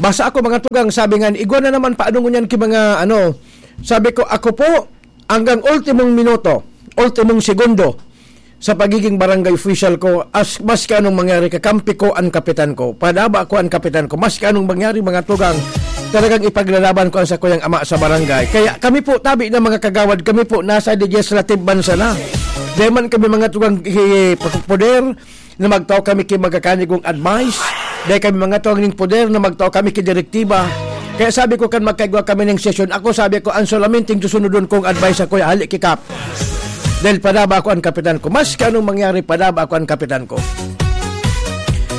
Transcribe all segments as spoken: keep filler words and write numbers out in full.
Basta ako, mga tugang, sabi nga, igwa na naman, paano ngunyan ki mga, ano, sabi ko, ako po, hanggang ultimong minuto, ultimong segundo, sa pagiging barangay official ko, as, maski anong mangyari, kakampi ko ang kapitan ko, padaba ko ang kapitan ko, maski anong mangyari, mga tugang, talagang ipaglalaban ko ang sakuyang ama sa barangay. Kaya kami po, tabi na mga kagawad, kami po nasa legislative man sana. Di man kami mga tugang i-, poder na magtao kami ki magkakanigong advice. Di kami mga tugang ning poder na magtao kami ki direktiba. Kaya sabi ko, kan magkaigwa kami ning sesyon, ako, sabi ko, ang solamente susunodon kong advice ako, hali ki Kap. Dahil padaba ako ang kapitan ko. Maski anong mangyari, padaba ako ang kapitan ko.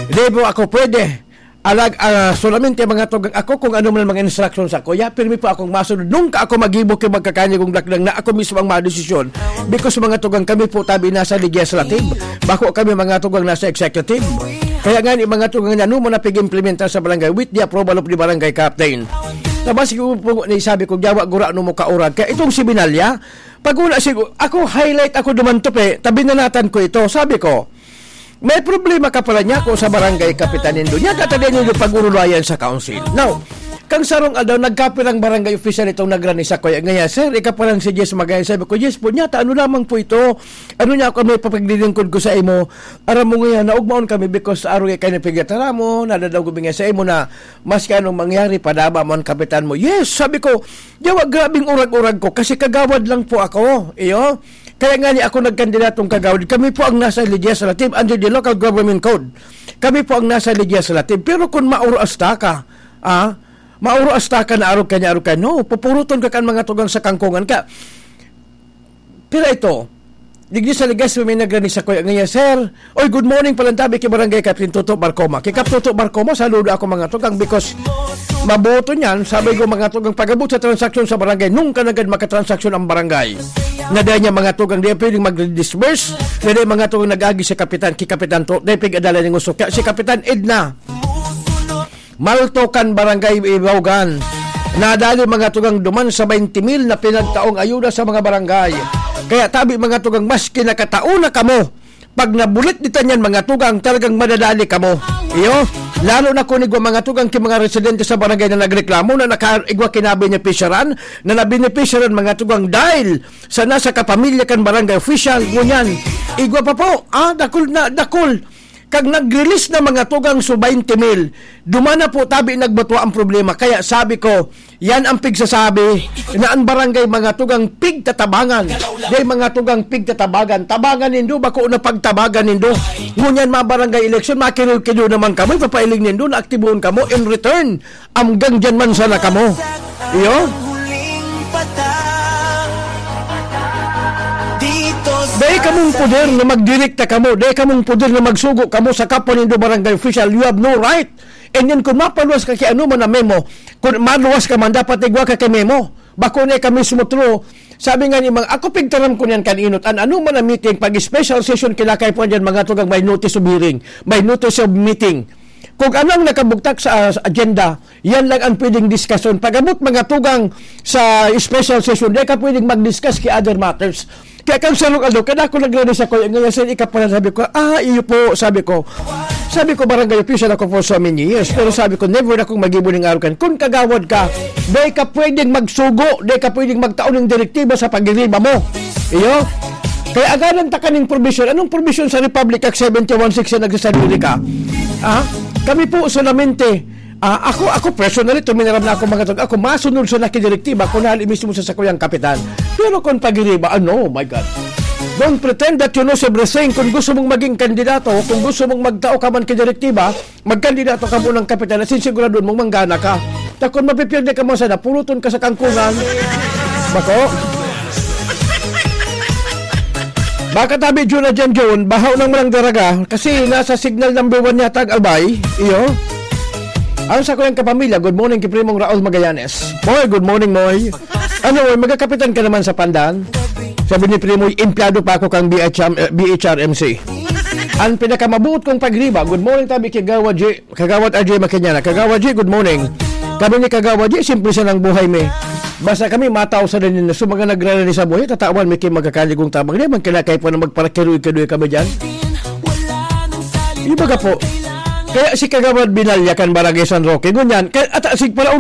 Di po ako pwede. Alag, ah, solamente mga tugang ako kung ano man mga instruction sa kuya, pirmi po akong masunod. Nunca ako magibo ki magkakanigong dakdang na ako mismo ang madesisyon. Because mga tugang kami po tabi nasa legislative. Bako kami mga tugang nasa executive. Kaya nga ni mga tugang na ano man na pig-implementar sa barangay with the approval of the barangay captain. Tapos siguro po, sabi ko, "Yawa, gura, ano mo kaurag?" Kaya itong si Binalya, pag una, sigo-, ako, highlight ako duman to, pe, tabi na natan ko ito. Sabi ko, "May problema ka pala niya ko sa barangay kapitan nindo. Niya ka tabi nindo pag-urulayan sa council." Now, kang sarong aldaw, nagkapirang barangay official itong nagrani sa kuya. Ngaya, "Sir, ikaparan si Jess Magaya." Sabi ko, "Yes po, niya, ta, ano lamang po ito? Ano niya ako may papaglilingkod ko sa imo? Aram mo ngayon, naugmaon kami because sa araw kayo nagpigataram mo, nadadaw ko nga sa imo na maski anong mangyari, padaba mo ang kapitan mo." "Yes," sabi ko, "Yawa, grabing urag-urag ko kasi kagawad lang po ako." Iyo. Kaya nga ni ako nagkandidatong kagawad. Kami po ang nasa legislative under the local government code. Kami po ang nasa legislative. Pero kung mauro asta ka, ah, mauro asta ka na arog ka niya, arog ka, no, pupuruton ka kan mga tugang sa kangkungan ka. Pero ito, digdi sa legislative may nagrani sa kuya ngayon, "Sir, oy, good morning palantabi kay Barangay Captain Toto Barcoma." Kay Kap Toto Barcoma, saludo ako mga tugang because mabuto niyan, sabi ko mga tugang, pag-abot sa transaksyon sa barangay, nunca nagad makatransaksyon ang barangay. Na dahil niya mga tugang, di pwedeng mag-disburse, na dahil mga tugang nag-agi si Kapitan, ki Kapitan to, dahil pig-adala ning usok. Kaya si Kapitan Edna, Malto kan Barangay Ibaugan, nadali mga tugang duman sa twenty mil na pinagtaong ayuda sa mga barangay. Kaya tabi mga tugang, maski nakatao na kamo, pag nabulit dita niyan mga tugang, talagang madadali kamo. Iyo, lalo na kung igwa mga tugang ki mga residente sa barangay na nagreklamo na nakaigwa kinabi niya pisyaran, na nabenepisyaran mga tugang dahil sa nasa kapamilya kan barangay official, ngunyan. Igwa pa po, ah, dakul na, dakul. Kag nag-release na mga tugang so twenty mil, duman na po tabi nagbatua ang problema. Kaya sabi ko, yan ang pigsasabi na ang barangay mga tugang pigtatabangan. Dahil mga tugang pigtatabangan. Tabangan nindo, bako na pagtabagan nindo. Ngunyan mga barangay election, makirukido naman kamo, ipapailing nindo, naaktibohon kamo. In return, amgang dyan man sana kamo. Iyo? Dai kamong poder na magdirekta kamo, dai kamong poder na magsugo kamo sa kapwa nindo barangay official. You have no right. And then kung mapaluwas ka ki ano man na memo, kung maluwas ka man, dapat igwa ka ki memo. Bako na ka mismo through. Sabi nga ni mga, ako pigtaram ko niyan kan inot, an ano man ang meeting, pag special session, kinakaipuan dyan, mga tugang, may notice of hearing, may notice of meeting. Kung anong nakabugtak sa, sa agenda, yan lang ang pwedeng diskusyon. Pag-abot mga tugang sa special session, di ka pwedeng mag-discuss ki other matters. Kaya kang sarong aldaw, kada ako nagrani sa kuya, ngayon sa ikapalan, sabi ko, "Ah, iyo po," sabi ko. Sabi ko, "Barangay official ako for so many years." Pero sabi ko, "Never akong magibo ning arukan." Kung kagawad ka, di ka pwedeng magsugo, di ka pwedeng magtaon ng direktiba sa pagiriba mo. Iyo? Kaya agaran ta kaning provision. Anong provision sa Republic Act seventy-one six na nagsasabi ka? Ah? Kami po solamente, ah, ako, ako personally, tuminaram na ako mga tag, ako masunod sa nakidirektiba kung hali mismo sa sakuyang kapitan. Pero kung pagiriba, ano, oh my God. Don't pretend that you know everything. Kung gusto mong maging kandidato, kung gusto mong magtao ka man kidirektiba, magkandidato ka munang kapitan at sinsiguraduhan mong manggana ka. Ta kung mapipierde ka man sana, puruton ka sa kangkungan. Bako? Baka tabi, Jun na dyan, Jun. Bahaw nang manang daraga. Kasi nasa signal number one yata ang Albay. Iyo. Ang sa kuyang kapamilya, good morning kay Primong Raul Magallanes. Moy, good morning, Moy. Ano, Moy, magkakapitan ka naman sa Pandan? Sabi ni Primo, "Empleyado pa ako kang B H M, eh, B H R M C." Ang pinakamabuot kong pagriba, good morning, tabi kay Gawa J, Kagawad R J Makinyana. Kagawad J, good morning. Kami ni Kagawad J, simple sa nang buhay mi. Basta kami, matao sa rin na so mga nagrarani sa buhay, tatawan mi kay magkakaligong tabang. Di man kinakay po na magparakiruy-kiruy kami dyan. Iba ka po. Kaya si Kagawad Binalya kan Barangay San Roque, ngunyan, kaya ata sig pala